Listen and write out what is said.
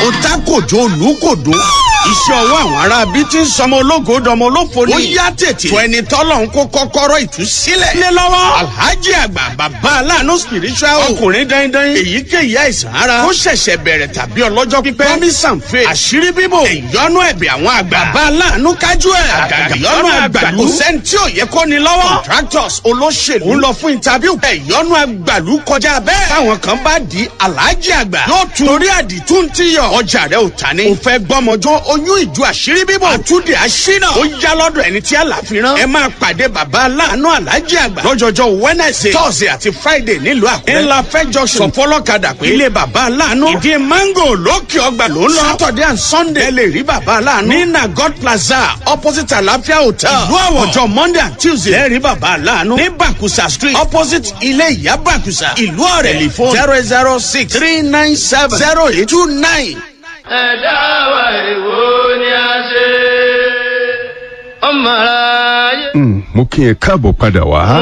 Ó tákòjó olùkòdó. Iṣẹ́ ọwọ́ àwọn ará bíi ti ń sọmọ ológo dọmọ olófo ni. Ó yá tètè. Tó ẹni tọ́lọ̀ ń kó kọ́kọ́rọ́ ìtúsílẹ̀. Lé lọ́wọ́. Alhaji àgbà bàbá aláàánú spiritual. Ọkùnrin dandan. Èyíkéyìí àìsàn ara. Ó ṣẹ̀ṣẹ̀ bẹ̀rẹ̀ tàbí ọlọ́jọ́ pípẹ́. Promise and faith. Àṣírí bíbò. Ìyọnu ẹ̀bẹ̀ àwọn àgbà. Bàbá aláàánú kájú ẹ̀. Àgàgà ìyọnu àgbàlú. Kò sẹ́ni tí ò yẹ kó ni lọ́wọ́. Contractors olóṣèlú. Ń lọ fún interview. Ìyọnu àgbàlú kọjá bẹ́ẹ̀. Táwọn kan bá di alhaji àgbà. Yóò tún torí àdìtú ti yọ. Ọjà rẹ ò ta ni. Ò fẹ́ gbọ́mọjọ́ oyún ìjú àṣírí bíbò. Àtúndì àṣínà. Ó yá lọ́dọ̀ ẹni tí àlàfi rán. Ẹ máa pàdé bàbá aláàánú alhaji àgbà. Lọ́jọ́jọ́ Wednesday, Thursday àti Friday nílùú Àkúrẹ́. Ńlá fẹ́ junction. Sọ fọlọ́kadà pé ilé bàbá aláàánú. Ìdí mango lókè ọgbà ló ń lọ. Saturday and Sunday. Ẹ lè rí bàbá aláàánú. Ní Nagod Plaza opposite Àlàáfíà Hotel. Ìlú Àwọ̀ ọjọ́ Monday and Tuesday. Ẹ rí bàbá aláàánú. Ní Bàkúsà Street opposite ilé ìyá Bàkúsà. Ìlú Ọ̀rẹ́. Tẹlifóònù 006 397 0829. Ẹ̀dá wa, èwo ni a ṣe ọmọ aráyé. Mo kí ẹ káàbọ̀ padà wá.